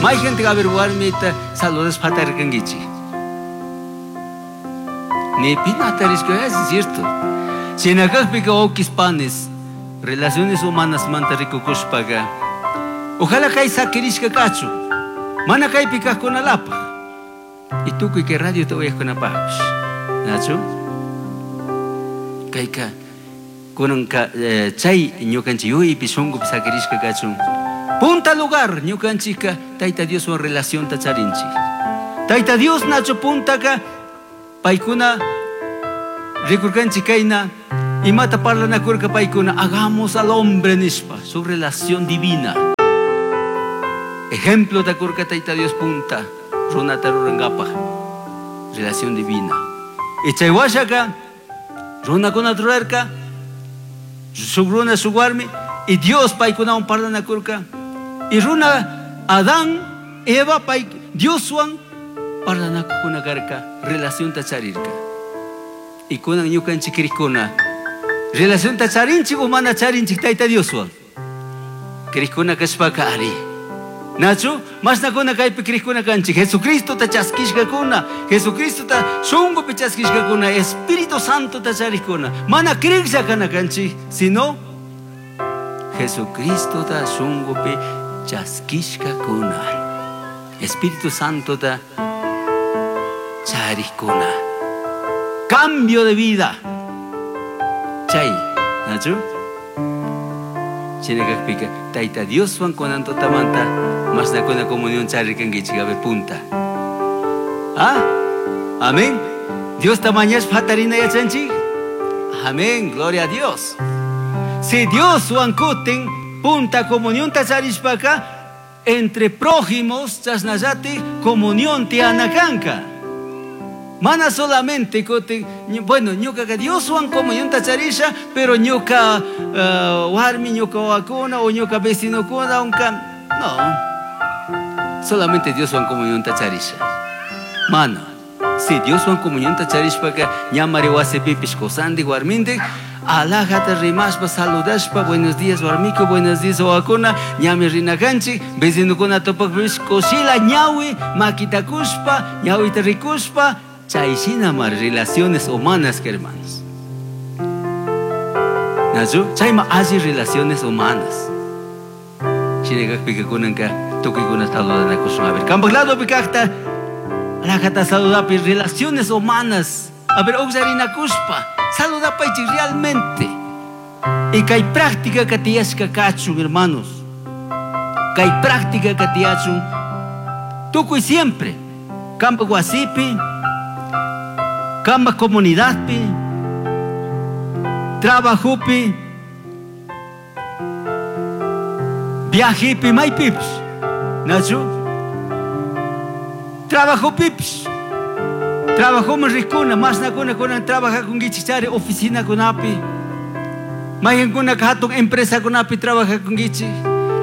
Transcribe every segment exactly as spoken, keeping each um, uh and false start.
Mayqantaq a ver warmita saludashpa hatarkankichik. Ni pi hatarishka, es cierto. Shinakaqpika wawqis panis, relaciones humanas manta rikukushpaqa, ojalá kay sakirishka kachun, mana kaypi kaqkunalapaq. Y tukuy kay radiota uyaqkunapaqpish. Nachu? Kayka kunanka eh, chay ñukanchik yuyaypi shunkupi sakirishka kachun. Punta lugar ñukanchikka Tayta Dioswan relacionta charinchik. Tayta Dios nachu puntaka paykuna rikurkanchik kayna imata parlanakurka paykuna hagamos al hombre nishpa su relación divina. Ejemplo takurka Tayta Dios punta runata rurankapaq relación divina. Y chay washaka runakuna rurarka shuk runa shuk warmi y Dios paykunawan parlanakurka. Y runa Adán, Eva pay Dioswan parlanakukuna karka relacionta charirka. Y kunan ñukanchik krikuna relacionta charinchik o mana charinchik Tayta Dioswan. Krikuna kashpaka ari. Nachu, mashnakuna kaypi krikuna kanchik Jesucristota chaskishkakuna, Jesucristota shunkupi chaskishkakuna, Espíritu Santota charikuna. Mana kriklla kana kanchik, sino Jesucristota shunkupi chaskishkakuna, Espíritu Santota charikuna. Cambio de vida. Chay, Nachu? Shinakaqpika Tayta Dioswan kunan tutamanta mashnakuna comunión charikankichik, a ver, punta. ¿Ah? Amén. Diosta mañashpa hatarina yachanchik. Amén, gloria a Dios. Si Dioswan kutin punta comunión charishpaka entre prójimos chasnallati comunión tianakanka. Mana solamente kutin, bueno, ñuka Dioswan comunión charisha, pero ñuka uh, warmi, ñuka wawakuna o ñuka vecinokuna, unka, no. Solamente Dioswan comunión charisha. Mana, si Dioswan comunión charishpaka ñamari wasipipish kusandik warmindik, alajata rimashpa saludashpa, buenos días warmiko, buenos días wawakuna, ñami rinakanchik, vecinokuna tupakpish kushila ñawi makitakushpa, ñawita rikushpa, chay shina mar relaciones humanas, hermanos. Nachu, chayma alli relaciones humanas. Shinakaqpika kunanka tukuykuna saludanakushun. A ver, kampak ladopi kaqta, alajata saludapi relaciones humanas. A ver, uqllarinakushpa, saludapaychik realmente. Y kay práctica ka tiyashka kachun, hermanos. Kay práctica ka tiyachun. Tukuy siempre. Kampak wasipi, kampak comunidadpi, trabajopi, viajepi, maypipish. Nachu? Trabajopipish. Trabajoman rikuna, mashnakuna kunan trabajakunkichik chari oficinakunapi. Mayqinkunaka hatun empresakunapi trabajakunkichik.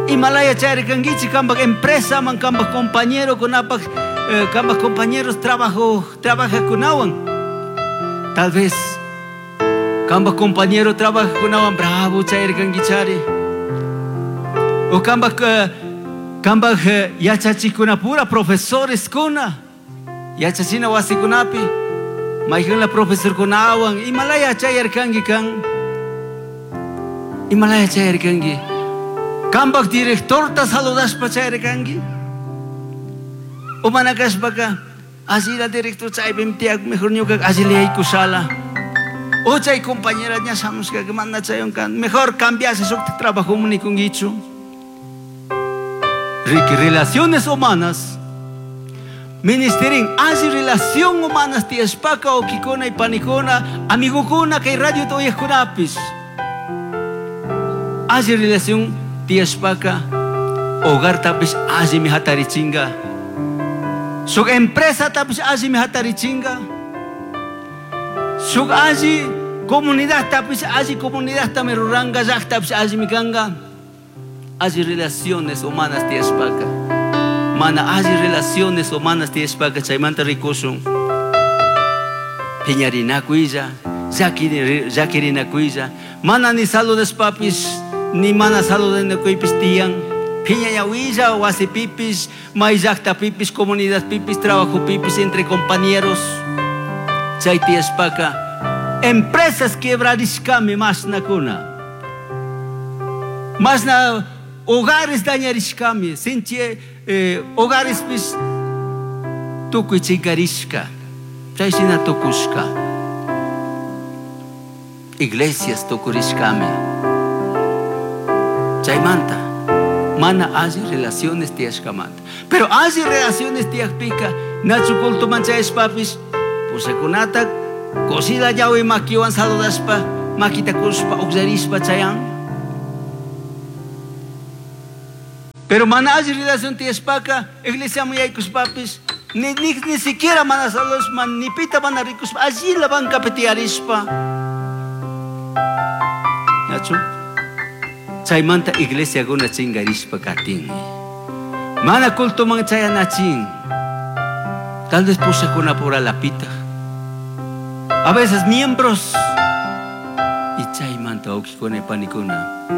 Imalaya chari kankichik kampak empresaman, kampak compañerokunapak, eh, kampak compañeros trabajo, trabajakunawan. Tal vez kampak compañero trabajakunawan bravo chayarkankichari. O kampak, eh, kampak, eh, yachachikkunapura profesoreskuna. Yachachina wasikunapi mayqinla profesorkunawan imalaya chayarkanki kan. Imalaya chayarkanki. Kampak directorta saludashpa chayarkanki. O mana kashpaka así la director chaypim tiyak mejor ñuka así le yaykushala. O chay compañera ña shamushka que manda chaywan kan mejor cambiase shuk trabajo nikunkichu. Ricky, relaciones humanas. Ministerin, así relación humanas tiyashpaka wawkikuna y panikuna, amigokuna kay radio uyaqkunapis. Así relación tiyashpaka hogartapis allimi hatarichinga. Shuk empresatapis allimi hatarichinga. Shuk alli comunidadtapis alli comunidadtami ruranka, llaqtapis allimi kanka. Alli relaciones humanas tiyashpaka. Mana alli relaciones humanas tiyashpaka chaymanta rikushun. Piñarinakuylla, llakirinakuylla. Mana ni saludashpapis, ni mana saludanakuypis tiyan. Piñañahuilla, wasi pipis, mayllakta pipis, comunidad pipis, trabajo pipis, entre compañeros. Chay tiyashpaka empresas quebrarishkami mashnakuna. Mashna hogares dañarishkami, sinchi eh, hogares pis tukuy chinkarishka. Chay shina tukushka. Iglesias tukurishkami. Chaymanta mana alli relaciones tiyashkamanta. Pero alli relaciones tiyakpika nachu cultoman chayashpapish pushakunata kushila ñawi makiwan saludashpa makita kushpa ukllarishpa chayan. Pero mana alli relación tiyashpaka iglesiaman yaykushpapish ni, ni, ni siquiera mana saludashpa ni pita mana rikushpa allila bancapi tiyarishpa. Nachu? Chaymanta iglesiakuna chinkarishpa katin. Mana cultoman chayanachin. Tal vez pushakuna pura lapita. A veces miembros. Y chaymanta wawkikuna y panikuna.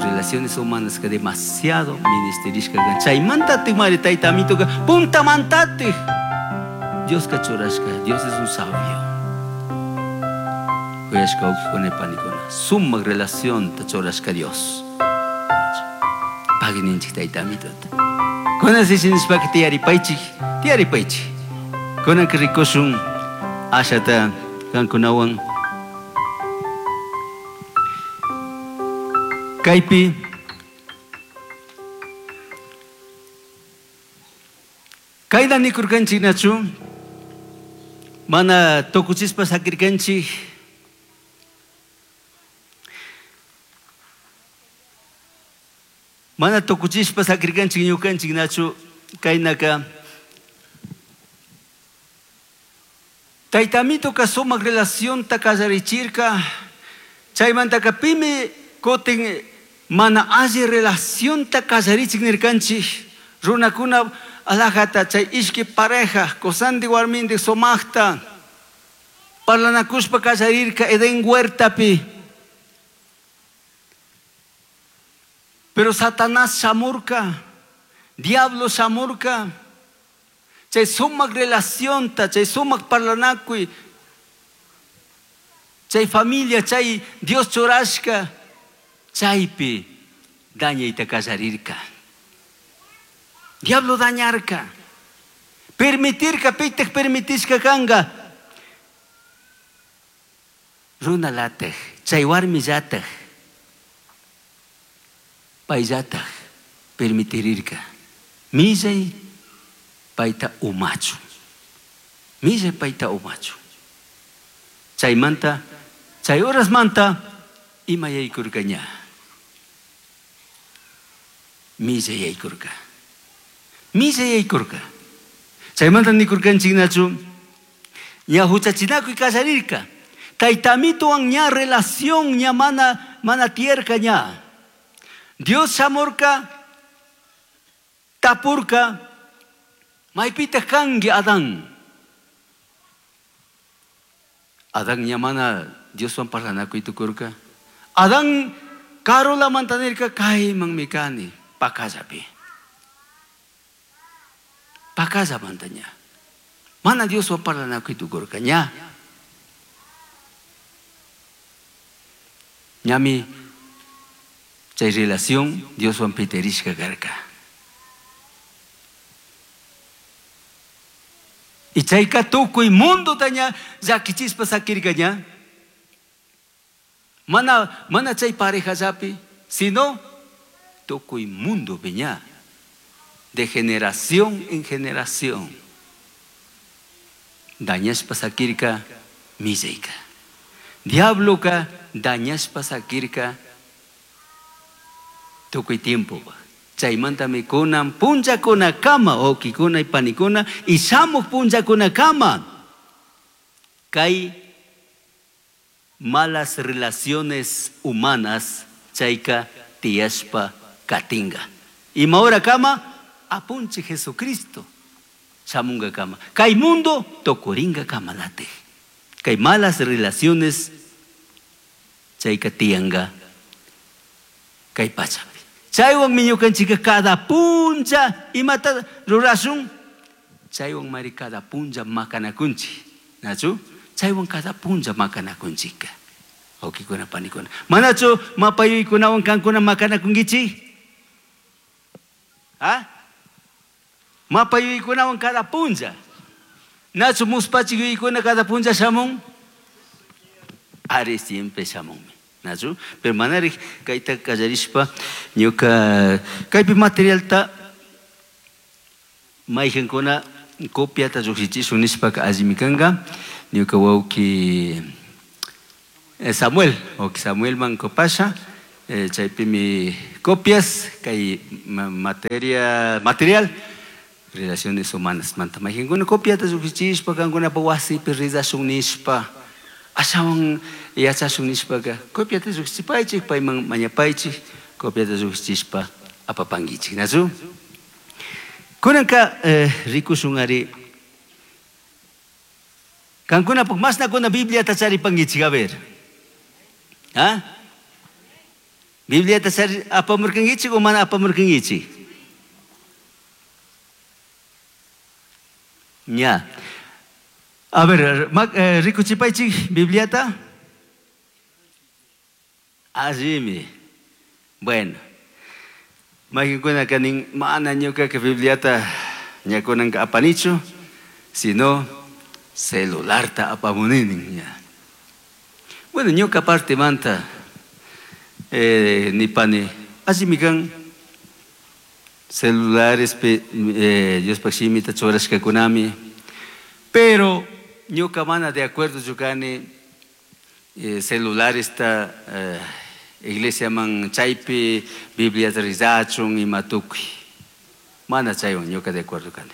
Relaciones humanas que demasiado ministerishka kan. Chaymanta mari tayta amituka puntamantatik. Dios kachurashka. Dios es un sabio. Kuyashka wawkikuna y panikuna. Suma relación tachurashka Dios. Pagui ninchik tayta amituta. Kunan sishinishpaka tiyaripaychik, tiyaripaychik. Kunanka rikushun ashata kankunawan. Kaypi kayna nikurkanchik nachu mana tukuchispa sakirkanchik. Mana tukuchispa sakirkanchik ñukanchik nachu kaynaka Tayta amituka sumak relacionta kallarichirka. Chaymantaka pimi kutin mana alli relacionta kallarichik nirkanchik. Runakuna alajata chay ishki pareja kusandi warmindik sumakta parlanakushpa kallarirka Edén huertapi. Pero Satanás shamurka, diablo shamurka. Chay sumak relacionta, chay sumak parlanakuy, chay familia, chay Dios churashka, chaypi dañayta kallarirka. Diablo dañarka. Permitirka, pitaj permitishka kanga. Runa latej, chay warmi llataj, payllataj permitirirka. Millay payta umachu. Millay payta umachu. Chaymanta, chay horasmanta ima yaykurka ña. Millay yaykurka. Millay yaykurka. Chaymanta nikurkanchik nachu ña huchachinakuy kallarirka. Tayta amituwan ña relación ña mana, mana tiyarka ña. Dios shamurka, tapurka, maypita kanki Adán. Adán ña mana Dioswan parlanakuy tukurka. Adán karulamanta nirka kaymanmi kani pakallapi. Pakallamanta ña. Mana Dioswan parlanakuy tukurka ña. Ñami chay relación Dioswan piterishka karka. Y chayka tukuy mundo taña llakichispa sakirka ña. Mana, mana chay pareja llapi, sino tukuy mundo piña. De generación en generación. Dañashpa sakirka millayka. Diabloka dañashpa sakirka tukuy tiempo. Chaymantami kunan punllakunakama, wawkikuna y panikuna, y shamuq punllakunakama. Kay malas relaciones humanas chayka tiyashpa katinga. Ima hora kama apunchi Jesucristo shamunga kama. Kay mundo tukuringa kamalate. Kay malas relaciones chayka tiyanga kay pachapi. Chaywanmi ñukanchikka cada puncha imata rurashun? Chaywan mari cada puncha makanakunchik. Nachu? Chaywan cada puncha makanakunchikka. Wawqikuna panikuna. Manachu mapayuykunawan kankuna makanakunkichik? ¿Ah? Mapayuykunawan cada puncha. Nachu muspachik yuyaykuna cada puncha shamun? Ari siempre shamunmi. Nachu? Pero manarik kayta kallarishpa ñuka kaypi materialta mayqankuna copiata lluqshichishun nishpaka allimi kanka. Ñuka wawqi Samuel, wawqi Samuelman kopasha, eh, chaypimi copias kay materia material relaciones humanas manta mayqankuna copiata lluqshichishpa kankunapa wasipi rizashun nishpa ashawan yachashun nishpaka copiata lluqshichipaychik payman mañapaychik copiata lluqshichishpa apapankichik, nachu? Kunanka eh, rikushun ari kankunapuk mashnakuna Bibliata charipankichik, a ver. ¿Ah? Bibliata chari apamurkankichik o mana apamurkankichik? Ya. A ver, eh, rikuchipaychik Bibliata. Allimi. Bueno. Mayqinkuna kanin mana ñuqaka Bibliata ñakunanka apanichu, sino celularta apamuninin ña. Bueno, ñuka parte manta eh, nipani allimi kan celulares pe, eh, Diospaq shimita churashkakunami, pero ñuka mana de acuerdo chukani eh, celularesta eh, iglesiaman chaypi Bibliata rizachun ima tukuy. Mana chaywan ñuka de acuerdo kani.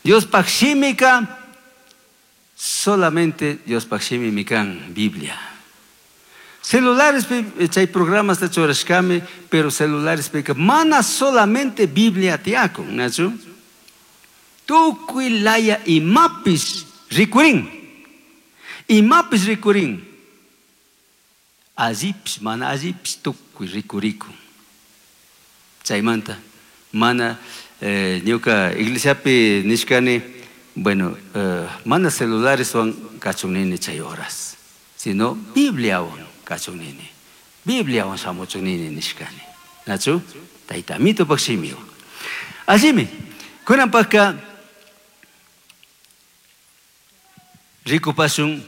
Diospaq shimika solamente Diospaq shimimi kan Biblia. Celulares chay programas ta churashkami, pero celulares pika mana solamente Biblia tiyakun, nachu? Tukuy laya imapis rikurin. Imapis rikurin. Allipis, mana allipis tukuy rikurikun. Chaymanta mana eh, ñuka iglesiapi nishkani, bueno, eh, mana celulareswan kachun nini chay horas, sino Bibliawan kachun nini. Bibliawan shamuchun nini nishkani. Nachu? Tayta Amitupak shimiwan. Allimi, kunanpaqka rikupashun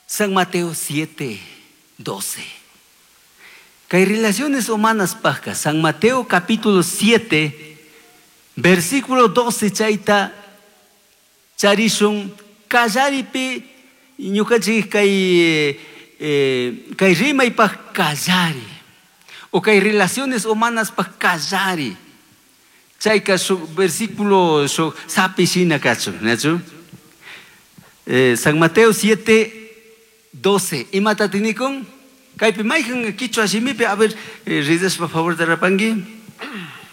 San Mateo siete, doce. Kay relaciones humanas pajka, San Mateo capítulo siete, versículo doce chayta charishun kallaripi ñukanchik kay eh, kay rimaypaj kallari o kay relaciones humanas paj kallari. Chayka shuk versículo shuk sapi shina kachun, nachu? Eh, San Mateo siete, doce. Imata tinikun? Kaypi mayqan kichwa shimipi, a ver, eh, rizaspa favor de rapanki.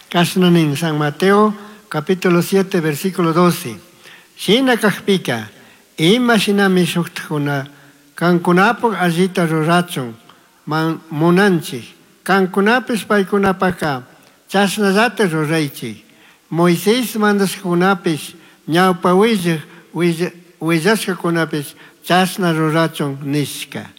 Kashnanin, San Mateo capítulo siete, versículo doce. Shina kajpika, ima shinami shuktakuna, kankunapuk allita rurachun, man munanchik, kankunapis paykunapaka, chashnallata ruraychik. Moisés mandashkakunapis, ñawpa willak, willashkakunapis, chashna rurachun nishka.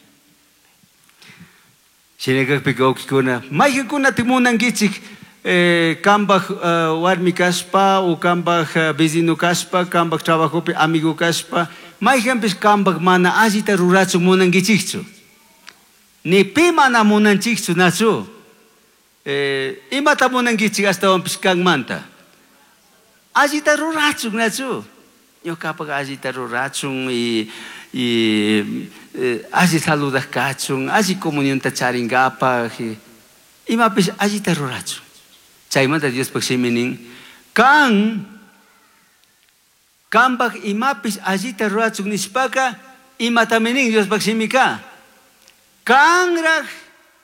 Shinakakpika wawqikuna, mayqankunata munankichik eh, kambaj uh, warmi kashpa o kambaj uh, vecino kashpa, kambaj trabajopi amigo kashpa, mayqanpis kambaj mana allita rurachun munankichikchu. Ni pi mana munanchikchu, nachu. Eh, imata munankichik ashtawanpis kanmanta. Allita rurachun, nachu. Ñuqapaq allita rurachun y, y eh, alli saludak kachun, alli comunionta charinkapaq, imapis allita rurachun. Chaymanta Diospaq shimi nin, kan kanpaq imapis allita rurachun nishpaka, imatami nin Diospaq shimika? Kanraq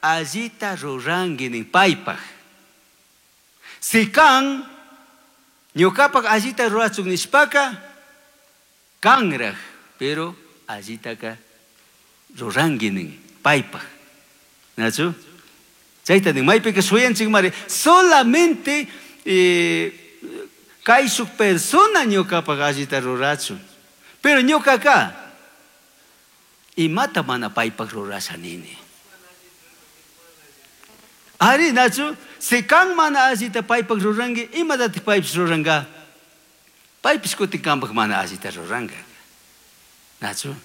allita ruranki nin paypaq. Si kan ñuqapaq allita rurachun nishpaka, kanraq, pero allitaka ruranki nin paypaq. Nachu? Chayta nin maypika shuyanchik mari solamente eh, kayshuk persona ñukapak allita rurachun. Pero ñukaka imata mana paypak rurasha nini. Ari nachu, si kan mana allita paypak ruranki, imatatik paypish ruranka? Paypish kutin kanpak mana allita ruranka. Nachu?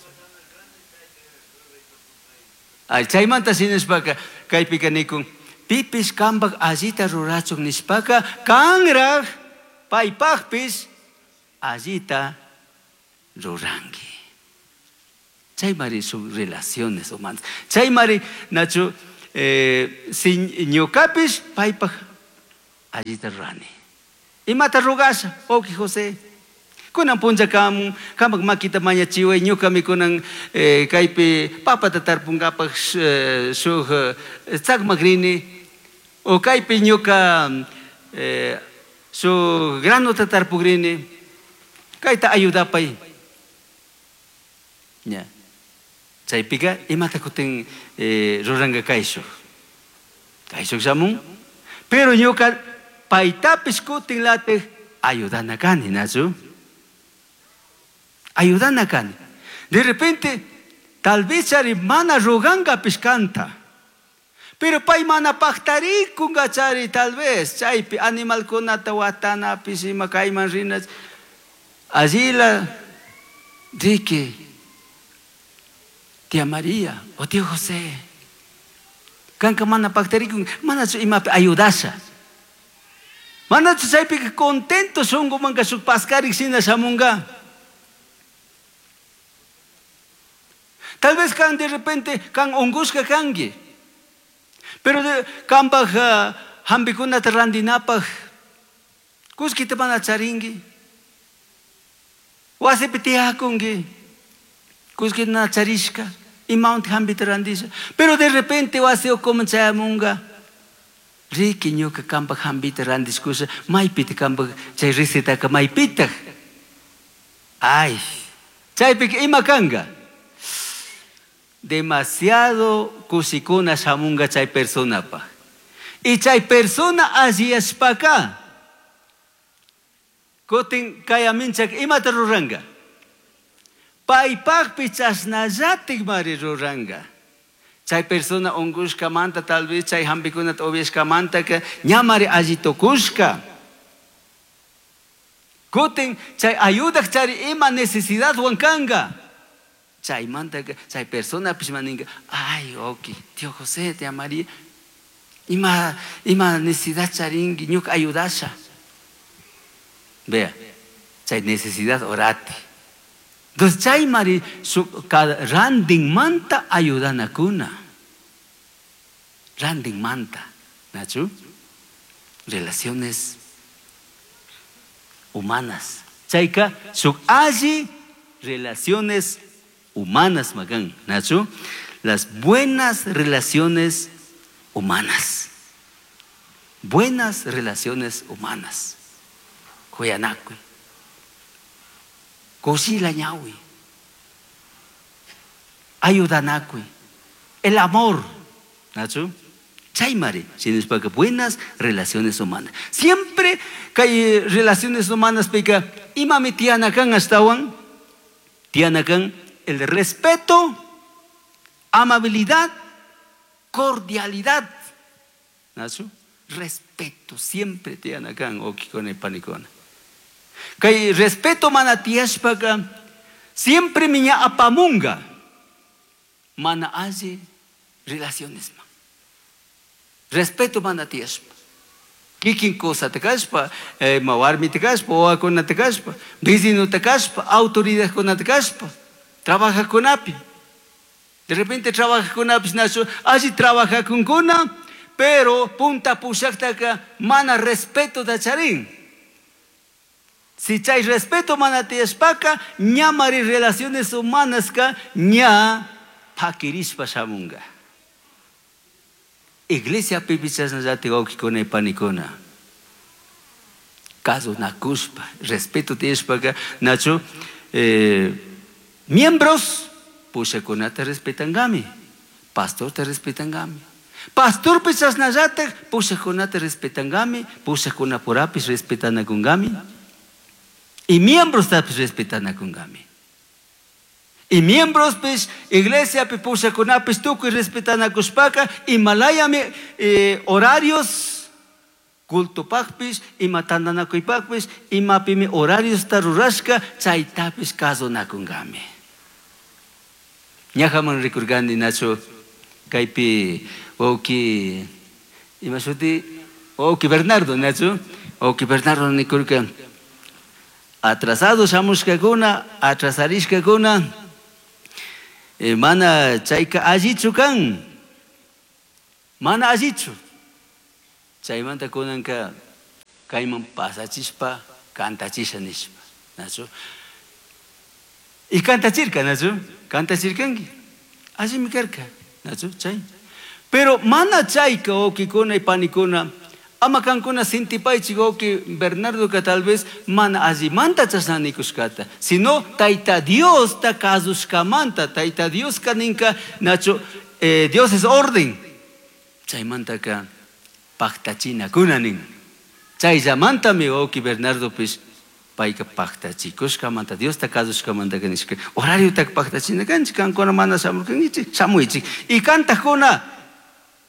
Ay, chaymanta sinishpaka kaypika nikun, pipish kanpak allita rurachun nishpaka kanraj paypakpish allita ruranki. Chaymari sus relaciones humanas. Chaymari nachu eh, si ñukapish paypak allita rurani. Imata rugasha, oki José. Kunan punlla kamun, kamak makita mañachiway, ñukami kunan eh, kaypi papata tarpunkapak eh, shuk eh, tzakmakrini, o kaypi ñuka eh, shuk granota tarpugrini, kayta ayudapay. Ña. Chaypika imata kutin eh, ruranka kayshuk. Kayshuk shamun, pero ñuka paytapish kutin latik ayudana kani, nachu? Ayudana kani. De repente, tal vez chari mana roganga pishkanta. Pero pay mana paktarikunga chari tal vez. Chaypi animalkunata watana pishima kayman rina. Allí la riki, tía María o tío José. Kanka mana paktarikun, mana imapi ayudasha. Mana chaypi contento shungu manka shuk paskarik shina shamunga. Tal vez kan de repente kan ungushka kangi. Pero de kanpaj uh, hampikunata randinapaj kuskita mana charingi. Wasipi tiyakungi. Kuskita na charishka. Imawanti hampita randisha. Pero de repente wasi ukuman chayamunga. Riki ñuka kanpaj hampita randishkusha. Maypita kanpaj chay recetaka maypitaj. Ay, chaypika ima kanga. Demasiado kushikuna shamunga chay personapa. Y chay persona alliyashpaka kutin kayaminchak imata ruranga. Paypakpi chashnallatik mari ruranga. Chay persona ungushkamanta tal vez chay hampikunata upiashkamantaka ñamari alli tukushka. Kutin chay ayudak chari ima necesidadwan kanga. Chaymanta chay persona pishmaninga, ay, ok, tío José, tía María, ima, ima necesidad charingi, ñuka ayudasha. Vea, chay necesidad orati. Entonces chay mari su cada randin manta ayudanakuna. Randin manta, ¿nachu? Relaciones humanas. Chayka su alli relaciones humanas, magan, Nacho, las buenas relaciones humanas. Buenas relaciones humanas. Kuyanakui. Kushila ñawi. Ayudanakui. El amor, Nacho. Chaymari, sino buenas relaciones humanas. Siempre que hay relaciones humanas, pica, imami tianakan astawan, tianakan el respeto, amabilidad, cordialidad. ¿Nacho? Respeto, siempre tianakan, okikona y panikona. Kay respeto manatiashpaka, siempre miña apamunga, mana hace relaciones ma. Respeto manatiashpa. Kikin cosa te kaspa, eh, mawarmi te kaspa, oakona te kaspa, vecino te kaspa, autoridad con te kaspa. Trabaja con api. De repente trabaja con api, así trabaja con cuna, pero punta pushakta mana respeto da charín. Si chay respeto mana tiashpaka, ñamari relaciones humanas ka ña pakirispa shamunga. Iglesia pipichasnallati wawkikuna y panikuna. Caso nakuspa, respeto tiashpaka, nacho, eh, miembros, pushakunata respetangami, pastor te respetangami. Pastorpis chasnallatak pushajkunata respetangami, pushajkunapurapis respetanakungami y miembrostapis respetanakungami. Y miembrospis iglesiapi pushajkunapis tukuy respetanakushpaka imalayami eh, horarios cultopaqpis, ima tantanakuypaqpis, imapimi horariosta rurashka chaytapis kasonakungami. Ñajaman rikurkani nacho kaypi wawki ima shuti wawki Bernardo nacho wawki Bernardo nikurka atrasado shamushkakuna atrasarishkakuna eh, mana chayka allichu kan mana allichu chaymanta kunanka kayman pasachishpa kantachisha nishpa nacho y kantachirka nacho kantachirkanki allimi karka nacho chay pero mana chayka wawkikuna y panikuna ama kankuna sintipaychik wawki Bernardoka tal vez mana allimanta chashna nikushkata sino Tayta Diosta kasushkamanta Tayta Dioska ninka nacho eh, Dios es orden chaymantaka paktachinakuna nin chayllamantami wawki Bernardopis payka paktachikushkamanta Diosta kasushkamantaka nishka horariotaka paktachina kanchik kankuna mana shamurkankichik shamuychik y kantakuna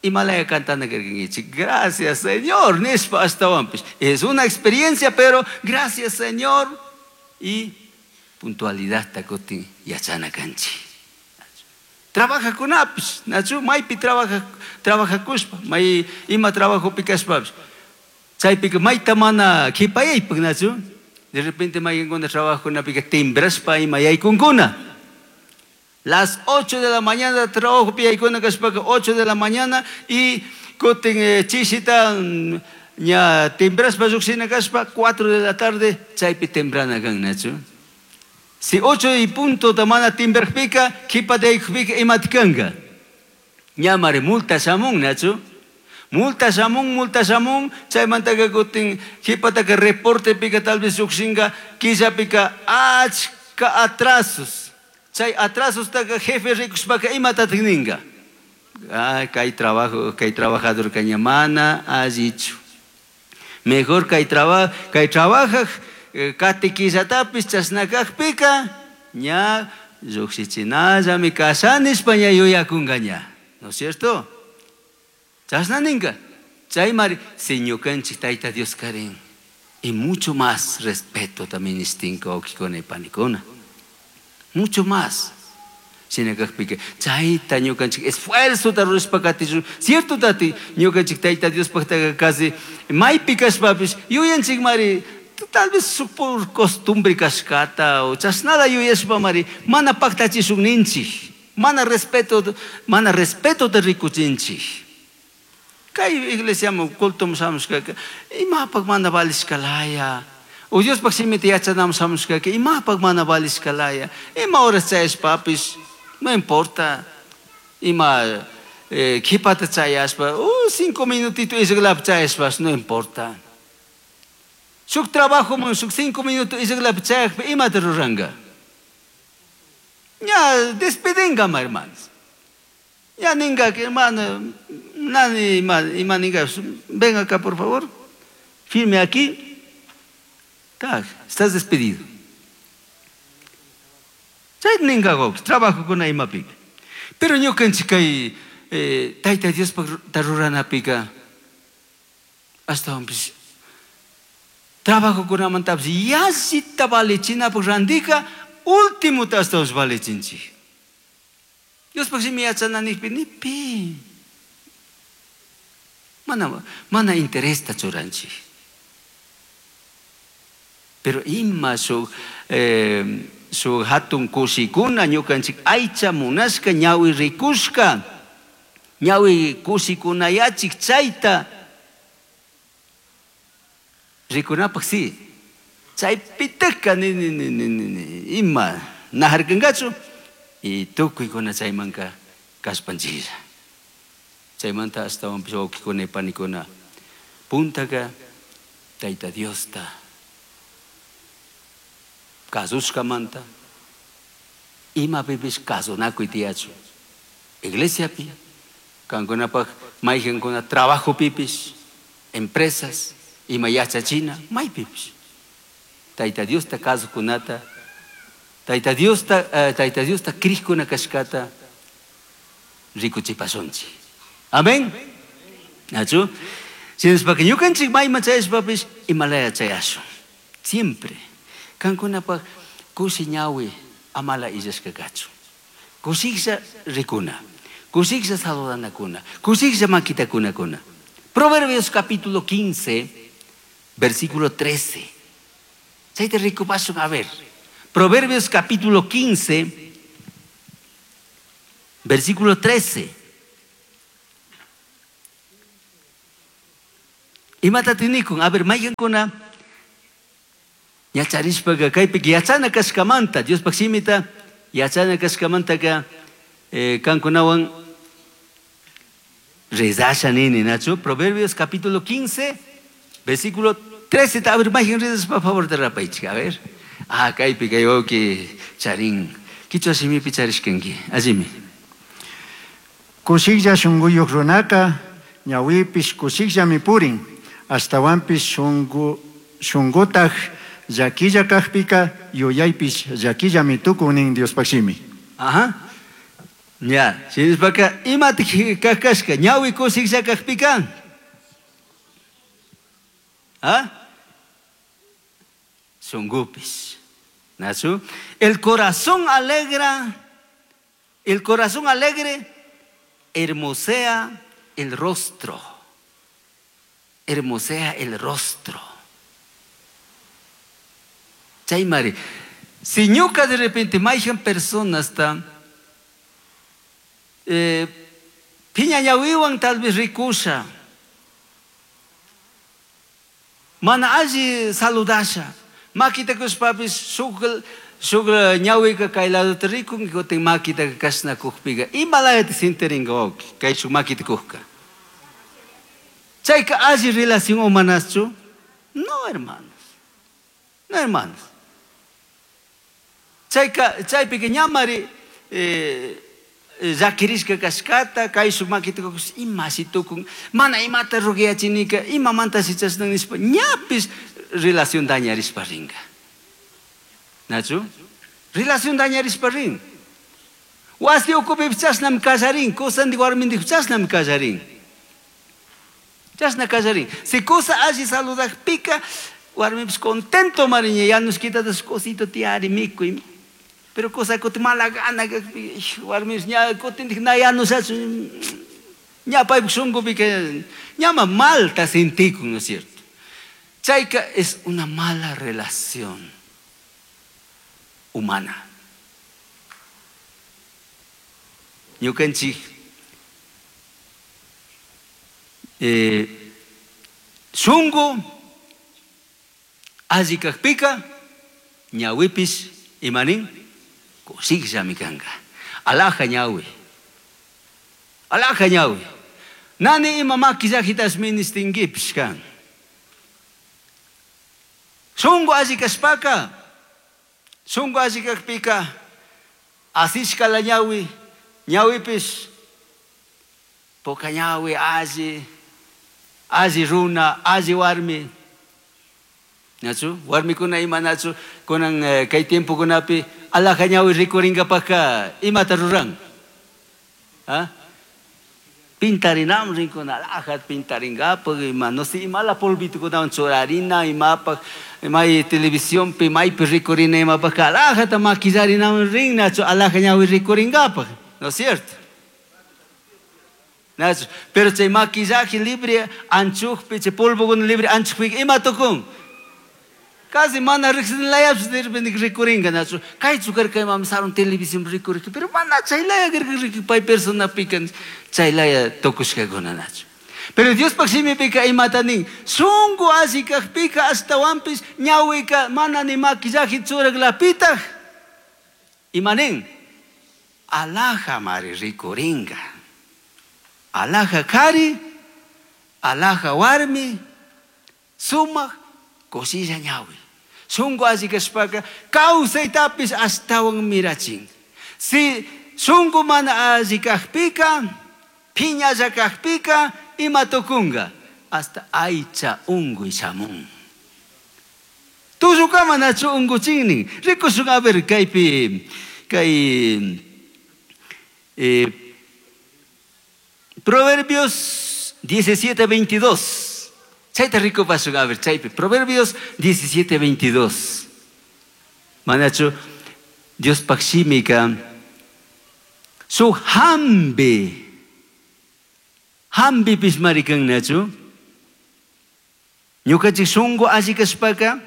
imalaya cantana karkankichik gracias Señor nishpa ashtawanpish es una experiencia pero gracias Señor y puntualidad kutin yachana kanchik trabajakunapish nachu maypi trabaja trabajakushpa may ima trabajopi kashpapish chaypika mayta mana qhipayaypak nachu de repente mayqinkuna trabajokunapika timbrashpa ima yaykunkuna las ocho de la mañana trabajo yaykuna kashpaka ocho de la mañana y kutin eh, chishita ña timbrashpa lluqshina kashpa cuatro de la tarde chaypi temprana kan nachu si ocho y punto mana timbrajpika qhipata yaykukpika imata kanka ñamari multa shamun nachu multa shamun multa shamun chaymantaka kutin qhipataka reportepika tal vez lluqshinka killapika achka atrasos chay atrasostaka jefe rikushpaka imatatak ninka ay kay trabajo kay trabajador ña mana allichu mejor kay traba kay trabajaj kati killatapis chashna kajpika ña lluqshichinallami kashanishpa ña yuyakunka ña ¿no es cierto? Chashna ninka chaymari si ñukanchik Tayta Dios karin y mucho más respeto también nistinka wawkikuna y panikuna mucho más shina kajpika chayta ñukanchik esfuerzota rurashpa katishun cierto tati ñukanchik Tayta Diospaqtaqa casi maypi kashpapish yuyanchik mari tal vez por costumbre kashkata o chashnala yuyashpa mari mana paktachishun ninchik mana respeto mana respetota rikuchinchik kay iglesiaman cultoman shamushkaka imapak mana valishkalaya o Diospaq shimita yachanaman shamushkaka imapak mana valishkalaya ima horas chayashpapish no importa ima eh, qhipata chayashpa oh, cinco minutito isqlapi chayashpash no importa shuk trabajoman shuk cinco minutos isqlapi chayakpi imata ruranka ña despedinkama hermanos ya ninka hermano nani ima, ima ninka ven acá por favor firme aquí tak estás despedido chay ninka trabajokuna imapika pero ñukanchik kay eh, Tayta Diospaq ruranapika ashtawanpish trabajokunamantapish yallita valichinapaq randika ultimota ashtawanpish valichinchik Diospaq shimi yachana nikpi nipi mana mana interesta churanchik pero ima shuk eh, shuk hatun kushikuna ñukanchik aycha munashka ñawi rikushka ñawi kushikunayachik chayta rikunapaq si chaypitaka ni ni ni ni ni ima najarkankachu y tukuykuna chaymanka kashpanchiklla chaymanta ashtawanpish wawkikuna y panikuna puntaka Tayta Diosta kasushkamanta imapipish kasunakuy tiyachu iglesiapi kankunapaq mayqankuna trabajo pipis, empresas, ima yachachina, maypipish. Tayta Diosta kasukunata, Tayta Diosta, eh, Tayta Diosta krikuna kashkata rikuchipashunchik. Amén. Nachu? Shinashpaka ñukanchik mayman chayashpapish imalaya chayashun. Siempre. Kankunapaj kushi ñawi amala illashka kachun. Kushiklla rikuna, kushiklla saludanakuna, kushiklla makitakunakuna. Proverbios capítulo quince, versículo trece. Chayta rikupashun, a ver. Proverbios capítulo quince, versículo trece. Imata tinikun, a ver, mayqankuna yacharishpaqa kaypika yachana kashkamanta, Diospaq shimita yachana kashkamantaka, eh, kankunawan rezasha nini, nachu? Proverbios capítulo quince, versículo trece. A ver, mayqan rezashpa, por favor, te rapaychik, a ver. Ah, kaypi kay wawki charin. Kichwa shimipi charishkanki. Allimi. Kushiklla shunquyuq runaka ñawipish kushikllami purin. Ashtawanpish shunqu, shunqutaq llakilla kaqpika yuyaypish llakillami tukun nin Diospaq shimi. Ajá. Ya, shinashpaka imatik kaq kashka ñawi kushiklla kaqpika? ¿Ah? Shunqupis. Nachu? El corazón alegra, el corazón alegre hermosea el rostro. Hermosea el rostro. Chaymari, si ñuka de repente mayhan personas ta, eh, piña ñawiwan tal vez rikusha, mana alli saludasha, makita kushpapis shuk, shuk ñawika kay ladota rikun, kutin makita kashna kukpiga, imalayata sintiringa wawki, kay shuk makita kukka. Chayka alli relación humanaschu? No, hermanos. No, hermanos. Chayka, chaypika ñamari, eh, llakirishka kashkata, kay shuk makita kukus, ima shi tukun, mana imata rugiachinika, imamanta shi chashna nishpa, ñapis relación dañarishpa ringa. Nachu? Relación dañarishpa rin. Wasi ukupipis chashnami kallarin, kusandik warmindik chashnami kallarin. Chashna kallarin. Si kusa alli saludakpika, warmipis contento mariña, ya nos quitatas cosito tiari mikuy. Pero cosa kuti mala gana, warmipis ña kutindik na ya nos hace, ña paypuk shunqupika, ñama malta sentikun, ¿no es cierto? Chayka es una mala relación humana. Ñukanchik, eh, shunqu alli kaqpika, ñawipis imanin kushikllami kanka. Alaja ñawi. Alaja ñawi. Nani ima maquillajitas ministinguipis kan. Shunqu alli kashpaka, shunqu alli kaqpika, asishka la ñawi, ñawipis poca ñawi alli, alli runa, alli warmi. Nachu, warmikuna ima nachu, kunan, eh, kay tiempokunapi alaja ñawi rikuringapaka imata ruran. ¿Ah? Pintarinam rinkuna, alaja pintaringapaq, ima, no sé, imala polvitukunawan churarina, imapaq, may televisiónpi, maypi rikurina imapaq, alajata maquillarinam rin, nachu, alaja ñawi rikuringapaq, ¿no es cierto? Nachu, pero chay maquillaje libre anchukpi, chay polvokuna libre anchukpi, ima tukun? Casi mana riqsinlayapis de repente rikuringa, nachu. Kaychu karka imam sarun televisión rikurirka, pero mana chaylaya karka rikuy, pay persona pican, chaylaya tukushkakuna, nachu. Pero Diospaq shimipika imata nin, shunqu alli kaqpika ashtawanpis ñawika mana ni maquillaje churaklapitaq, ima nin, alaja mari rikuringa. Alaja kari, alaja warmi, sumaq kushilla ñawi. Shunqu alli kashpaka kawsaytapis ashtawan mirachin. Si shunqu mana alli kaqpika, Piñalla kakpika ima tukunga. Hasta aycha unguy shamun. Tullukama nachu unguchinnin. Rikushun a ver kaypi kay eh, Proverbios diecisiete veintidós. Chayta rikupashun a ver chaypi. Proverbios diecisiete veintidós. Manachu Dios pakshimika su hambi hambi pismarikan nachu ñukanchik shunku alli kashpaka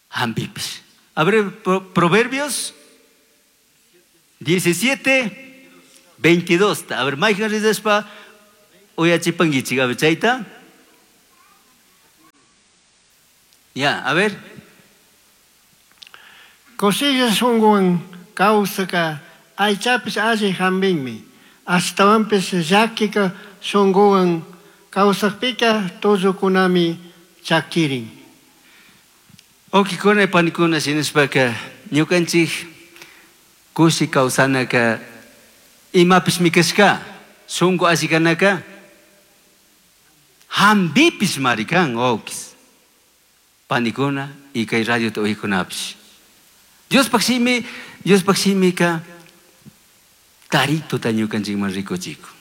hambipis. A ver, Proverbios diecisiete veintidós. A ver, mayhan rizashpa uyachipankichik, a ver, chayta. Ya, a ver. Kushilla shunkuwan kawsaka aychapish alli hambinmi. Ashtawanpish llakika shunkuwan kawsakpika tullukunami chakirin. Wawqikuna panikuna shinashpaka ñukanchik kushi kawsanaka imapish mikashka shunku alli kanaka hambipish marikan wawkis panikuna y kay radiota uykunapish. Diospaj shimi, Diospaj shimika tarituta ñukanchikman rikuchikun.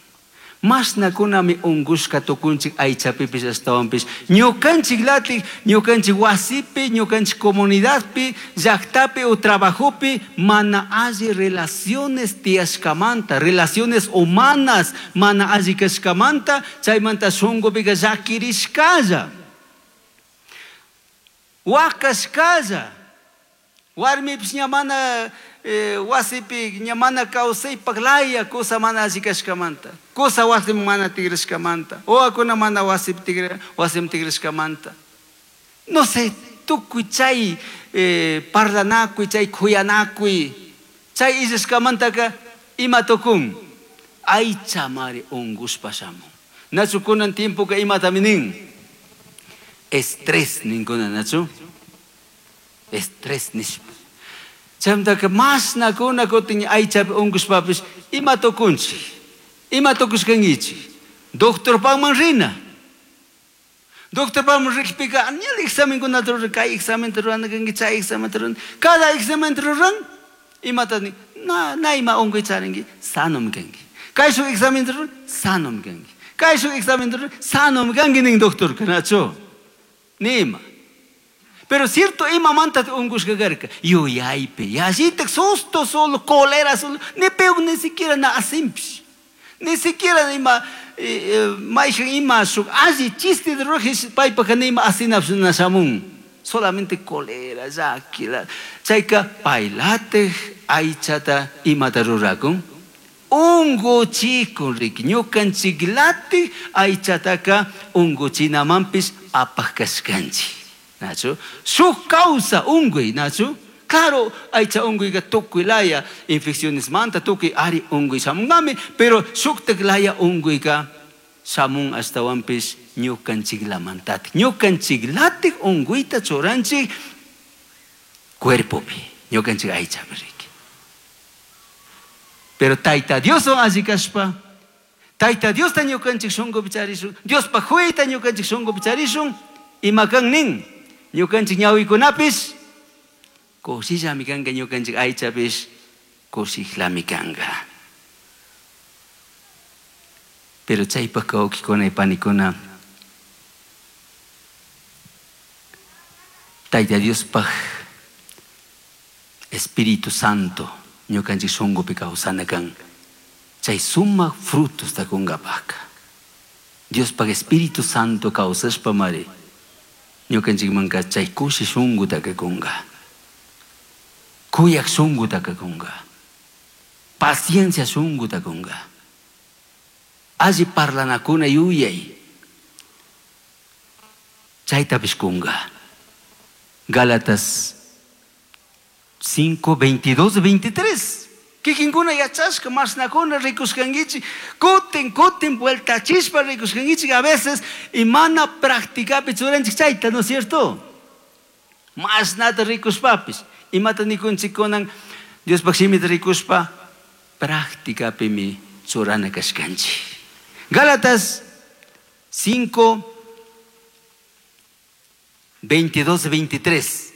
Masnakunami ungushka tukunchik aychapipish ashtawanpish ñukanchik latik, ñukanchik wasipi, ñukanchik comunidadpi, llaktapi o trabajopi mana alli relaciones tiyashkamanta, relaciones humanas mana alli kashkamanta, chaymanta shunqupika llakirishkalla, wakashkalla, warmipish ña mana eh, wasipi ña mana kawsaypaq laya kusa mana alli kashkamanta, kusa wasiman mana tigrashkamanta, wawakuna mana wasipi tigra, wasiman tigrashkamanta. No sé, tukuy chay, eh, parlanakuy, chay kuyanakuy, chay illashkamantaka ima tukun? Aycha mari ungushpa shamun. Nachu kunan tiempoka imatami nin? Estrés ninkuna, nachu? Estrés nishpa. Chaymantaka masnakuna kutin aychapi ungushpapish ima tukunchik? Ima tukushkankichik? Doctorpaqman rina. Doctorpaqman rikpika ñalla examenkunata ruran, kay examenta rurana kanki, chay examenta ruran. Cada examenta ruran, imata nin? Na, na ima unkuy charinki, sanomi kanki. Kay shuk examenta ruran, sanomi kanki. Kay shuk examenta ruran, sanomi kanki nin doctorka, nachu? Nima. Pero cierto, ima manta ungushka karka, yuyaypi, yallitak susto solo, cólera solo, ni peor ni siquiera na asimpish. Ni siquiera ima, eh, eh, mayhan ima shuk alli chiste de rojes paypaka ni ima asinapsh na shamun. Solamente cólera, llakila. Chayka paylatik aychata imata rurakun. Unguchikun riki, ñukanchiklatik aychataka unguchinamanpish apaj kashkanchik. Nachu? Shuk causa unguy, nachu? Claro, aycha unguyka tukuy laya infecciones manta, tukuy ari unguy shamunami, pero shuktak laya unguyka shamun ashtawanpish ñukanchiklamantatik. Ñukanchiklatik unguyta churanchik cuerpopi, ñukanchik aychapi riki. Pero Tayta Dioswan alli kashpa, Tayta Diosta ñukanchik shunkupi charishun, Diospaj huyta ñukanchik shunkupi charishun, ima kan nin? Ñukanchik ñawikunapis kushillami kanka, ñukanchik aychapish kushillami kanka. Pero chaypaj wawqikuna y panikuna, Tayta Diospaj Espíritu Santo ñukanchik shunkupi kawsana kan, chay sumaq frutosta kunkapajka. Diospaj Espíritu Santo kawsashpa mari ñukanchikmanka chay kushi shunkuta kunka, kuyak shunkuta kunka, paciencia shunkuta kunka, alli parlanakuna yuyay chaytapish kunka. Gálatas cinco, veintidós, veintitrés. Kikinkuna yachashka mashnakuna rikushkankichik, kutin kutin vueltachishpa rikushkankichik a veces y mana practicapi churanchik chayta, ¿no es cierto? Mashnata rikushpapis. Imata nikunchik kunan Diospaj shimita rikushpa practicapimi churana kashkanchik. Gálatas cinco, veintidós, veintitrés.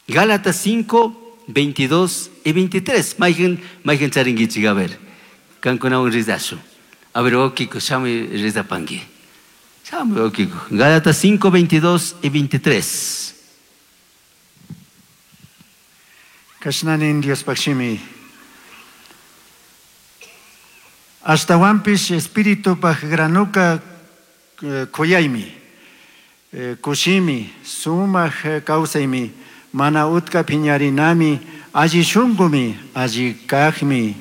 Gálatas cinco, veintidós y veintitrés. Maigen, maigen charinguichi, a ver. Kankunawan rizashu. A ver, okiko, shami rizapangi. Shami okiko. Gálatas cinco, veintidós y veintitrés. Kashnanin Dios pakshimi. Ashtawanpish espíritu paj granuka kuyaymi, kushimi, sumaj kawsaymi, mana utka piñarinami, alli shungumi, alli kajmi,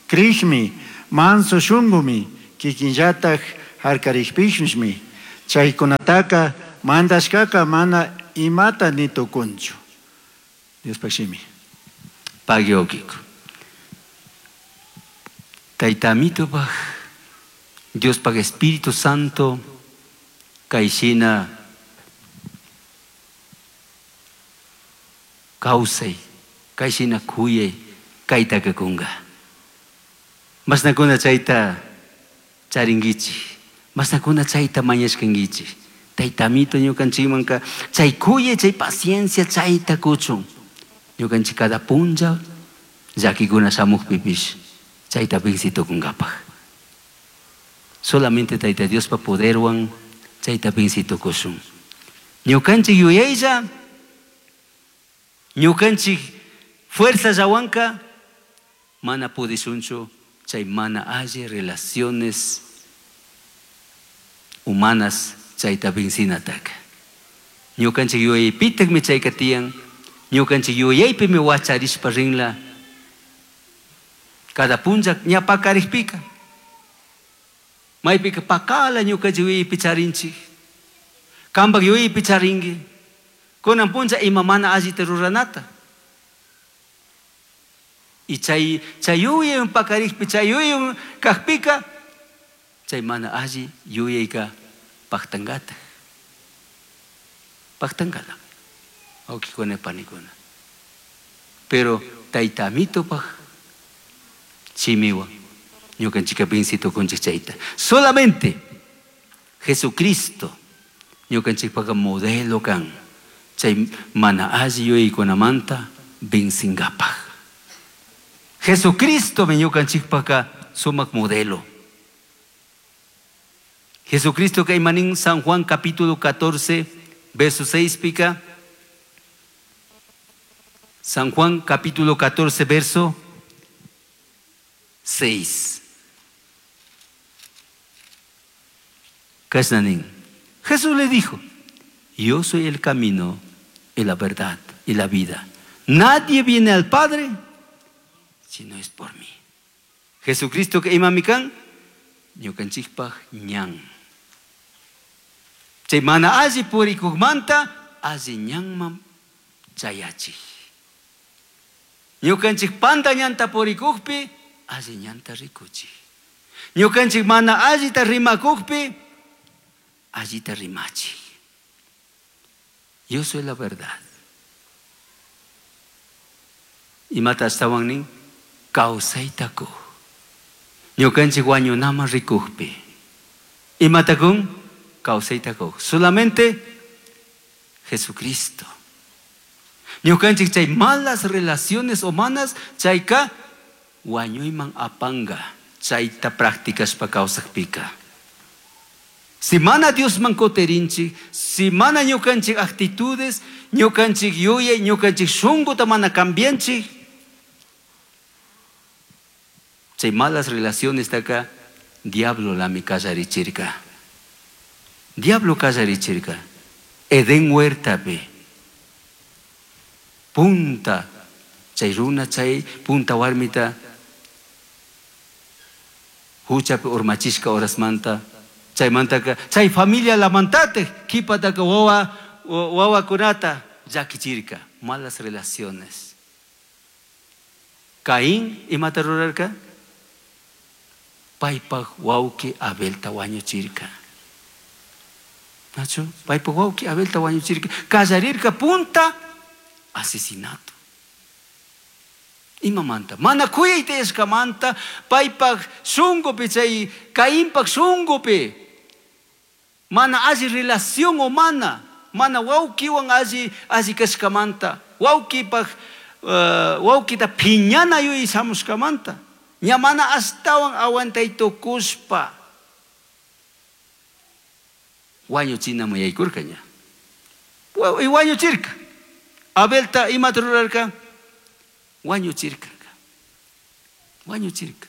krijmi, manso shungumi, kikinllataj harkarikpishmi, chaykunataka mandashkaka mana imata ni tukunchu. Dios pakshimi. Pagyokiko. Taytamito paj, Dios paj Espíritu Santo, kayshina kawsay, kayshina kuyay, kaytaka kunga. Masnakuna chayta charinkichik, masnakuna chayta mañashkankichik. Taytamito ñukanchikmanka chay kuyay, chay paciencia chayta kuchun. Ñukanchik cada punlla llakikuna shamuqpipish chayta vincitukunkapaj. Solamente Tayta Diospa poderwan chayta vincitukushun. Ñukanchik yuyaylla, ñukanchik fuerza llawanka mana pudishunchu chay mana alli relaciones humanas chayta vincinataka. Ñukanchik yuyaypitakmi chayka tiyan, ñukanchik yuyaypimi wacharishpa rinla. Cada punlla ña pakarikpika. Maypika pakala ñukanchik yuyaypi charinchik. Kampak yuyaypi charinki. Kunan punlla ima mana allita ruranata. Y chay, chay yuyaywan pakarikpi, chay yuyaywan kajpika, chay mana alli yuyayka paktankata. Paktankala. Awkikuna panikuna. Pero taytamitopaj shimiwan ñukanchika vincitukunchik chayta. Solamente Jesucristo ñukanchikpaka modelo kan chay mana alli yuyaykunamanta vincingapaj. Jesucristo mi ñukanchikpaka sumak modelo. Jesucristo kay manin San Juan capítulo catorce verso seis pica. San Juan capítulo catorce verso seis. Kasnanin. Jesús le dijo: yo soy el camino y la verdad y la vida. Nadie viene al Padre si no es por mí. Jesucristo que imamikan ñukanchikpaj ñan. Chay mana alli purikukmanta alli ñanman chayachik. Ñukanchik panta ñanta purikukpi alli ñanta rikuchik. Ñukanchik mana allita rimakukpi allita rimachik. Yo soy la verdad. Imata astawan nin kawsaytaku. Ñukanchik wañunama rikukpi. Imatakun kawsaytaku. Solamente Jesucristo. Ñukanchik chay malas relaciones humanas chayka wañuyman apanga chayta practicashpa kawsakpika. Si mana Diosman kuterinchik, si mana ñukanchik actitudes, ñukanchik yuyay, ñukanchik shunguta mana cambianchik, chay malas relaciones taka diablo lami kallarichirka. Diablo kallarichirka. Edén huertapi. Punta chay runa chay punta warmita huchapi urmachishka horasmanta chaymantaka chay familia lamantate kipataka wawa wawakunata llakichirka. Malas relaciones. Caín imata rurarka paypaj wawqi Abelta wañuchirka. Nacho, paypaj wawqi Abelta wañuchirka. Kallarirka punta asesinato. Imamanta mana kuyayta yashkamanta paypak shunkupi chay Cainpak shunkupi mana alli relación humana mana wawkiwan alli alli kashkamanta wawkipak uh, wawkita phiñana yuyay shamushkamanta ña mana ashtawan aguantay tukushpa wañuchinaman yaykurka ña y wañuchirka Abelta imata rurarka wañuchirka wañuchirka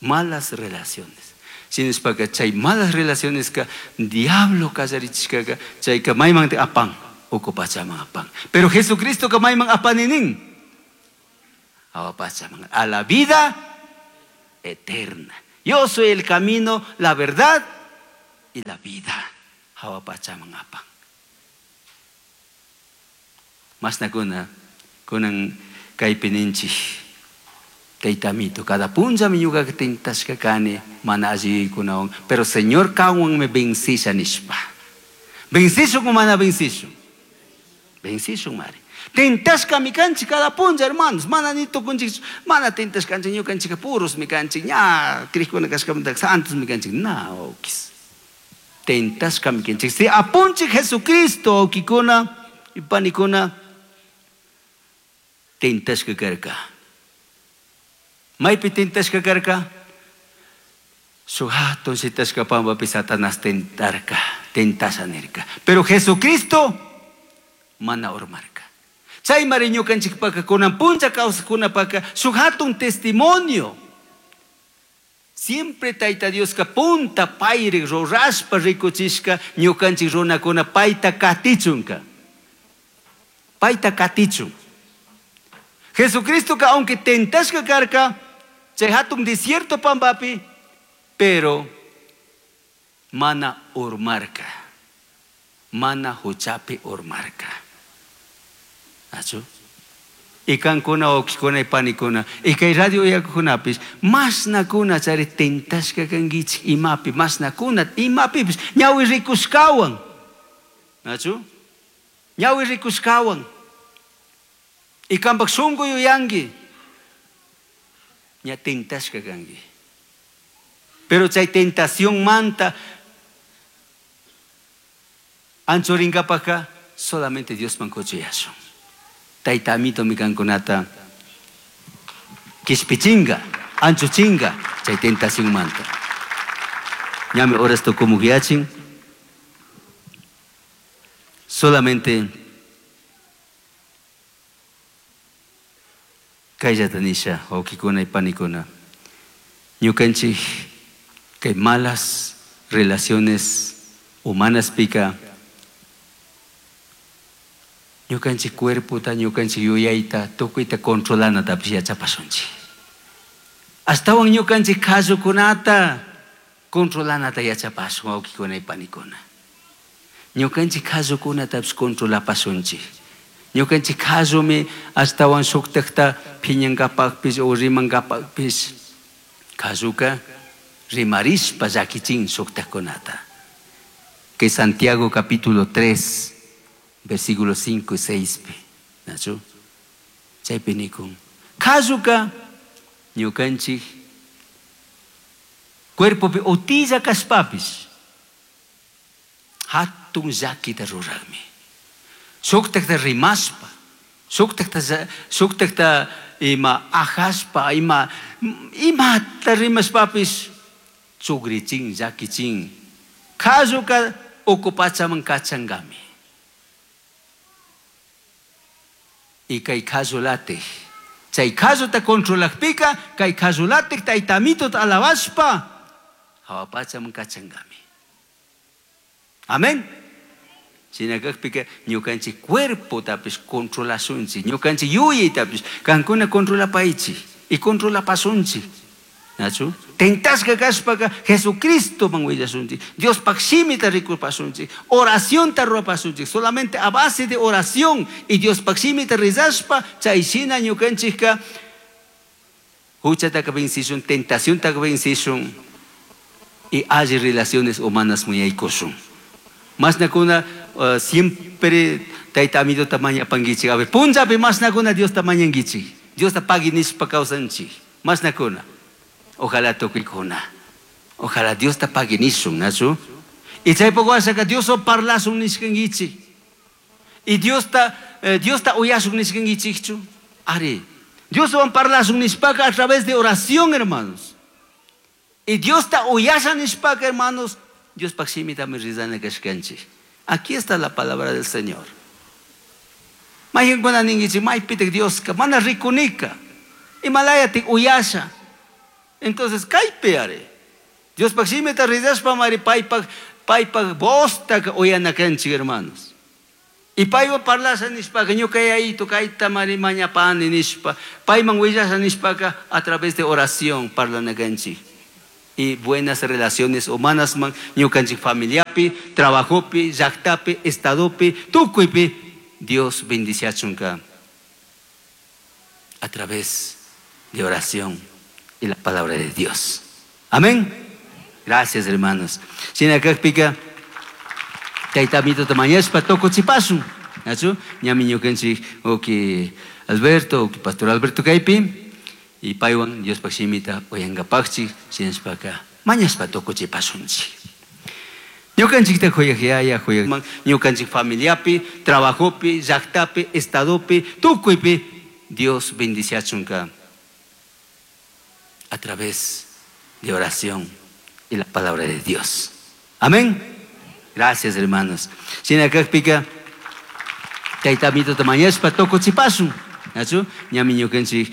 malas relaciones shinashpaka chay malas relaciones ka diablo kallarichishkaka chayka mayman apan uku pachaman apan pero Jesucristo ka mayman apaninin awa pachaman a la vida eterna. Yo soy el camino, la verdad y la vida. Hawa pachaman apan masnakuna kunan kaypi ninchik taytamito cada punllami ñuqaqa tentashka kani mana alli yuyaykunawan pero Señor kanwanmi vencisha nishpa vencishun o mana vencishun vencishun mari tentashkami kanchik cada punlla hermanos mana ni tukunchik mana tentashkanchik ñukanchikqa purosmi kanchik ña crikuna kashkamanta santosmi kanchik na wawkis tentashkami kanchik si apunchik Jesucristo wawkikuna y panikuna tentashka karka maypi tentashka karka shuk hatun shitashka pampapi Satanás tentarka tentasha nirka pero Jesucristo mana urmarka chaymari ñukanchikpaka kunan punlla kawsaqkunapaka shuk hatun testimonio siempre Tayta Dioska punta payri rurashpa rikuchishka ñukanchik runakuna payta katichunka payta katichun Jesucristo ka aunque tentashka karka chay hatun desierto pampapi pero mana urmarka mana huchapi urmarka achu y kankuna wawkikuna y panikuna y kay radio uyakuqkunapis mashnakuna chari tentashka kankichik imapi mashnakuna imapipis ñawi rikushkawan achu ñawi rikushkawan y kampak shunku yuyanki ña tentashka kanki pero chay tentación manta anchurinkapaka solamente Diosman kuchuyashun Tayta amitomi kankunata kishpichinga anchuchinga chay tentación manta ñami horas tukumuyachin solamente kayllata nisha wawkikuna y panikuna ñukanchik kay malas relaciones humanas pika ñukanchik cuerpota ñukanchik yuyayta tukuyta controlanatapish yachapashunchik ashtawan ñukanchik qallukunata controlanata yachapashun wawkikuna y panikuna ñukanchik qallukunatapish controlapashunchik ñukanchik qallumi ashtawan shuktakta phiñankapakpish o rimankapakpish qalluka rimarishpa llakichin shuktakkunata que Santiago capítulo tres versículos cinco y seis nachu chaypi nikun qalluka ñukanchik cuerpopi utilla kashpapish hatun llakita ruraqmi shuktakta rimashpa shuktakta shuktakta ima ajashpa ima imata rimashpapish chugrichin llakichin qalluka uku pachaman kachankami y kay qallulatik chay qalluta controlaqpika kay qallulatik taytamitota alabashpa hawa pachaman kachankami amén shinakaqpika ñukanchik cuerpotapish controlashunchik ñukanchik yuyaytapish kankuna controlapaychik y controlapasunchik nachu tentashka kashpaka Jesucristoman willashunchik Diospaq shimita rikupasunchik oracionta rurapasunchik solamente a base de oración y Diospaq shimita rezashpa chay shina ñukanchikka huchataka vencishun tentaciontaka vencishun y alli relaciones humanas muyaykushun mashnakuna uh, siempre Tayta Amituta mañapankichik. A ver, punllapi mashnakuna Diosta mañankichik. Diosta pagui nishpa kawsanchik. Mashnakuna. Ojalá tukuykuna. Ojalá Diosta pagui nishun, nachu? Y chaypuk washaka Dioswan parlashun nishkankichik. Y Diosta, eh, Diosta uyashun nishkankichikchu. Ari. Dioswan parlashun nishpaka a través de oración, hermanos. Y Diosta uyasha nishpaka, hermanos, Diospaj shimitami rizana kashkanchik. Aquí está la palabra del Señor. Mayqinkuna ninkichik, maypitik Dioska, mana rikunika. Imalayatik uyasha. Entonces, kaypi ari. Diospaj shimita rizashpamari paypaj, paypaj voztaka uyana kanchik, hermanos. Y paywan parlasha nishpaka, ñuka yayito kayta mari mañapani nishpa, payman willasha nishpaka, a través de oración parlana kanchik. Y buenas relaciones humanas man, ñukanchik familiapi, trabajopi, llaktapi, estadopi, tukuypi, Dios bendiciachunka a través de oración y la palabra de Dios. Amén. Gracias, hermanos. Shinakakpika, tayta Amituta mañashpa tukuchipashun. Nachu? Ñami ñukanchik uki Alberto, uki Pastor Alberto kaypi, y paywan Diospaj shimita uyankapakchik, shinashpaka mañashpa tukuchipashunchik. Ñukanchikta kuyaj yaya, kuyaj man, ñukanchik familiapi, trabajopi, llaktapi, estadopi, tukuypi, Dios bendiciachunka a través de oración y la palabra de Dios. Amén. Gracias, hermanos. Shinakakpika, tayta Amituta mañashpa tukuchipashun. Nachu? Ñami ñukanchik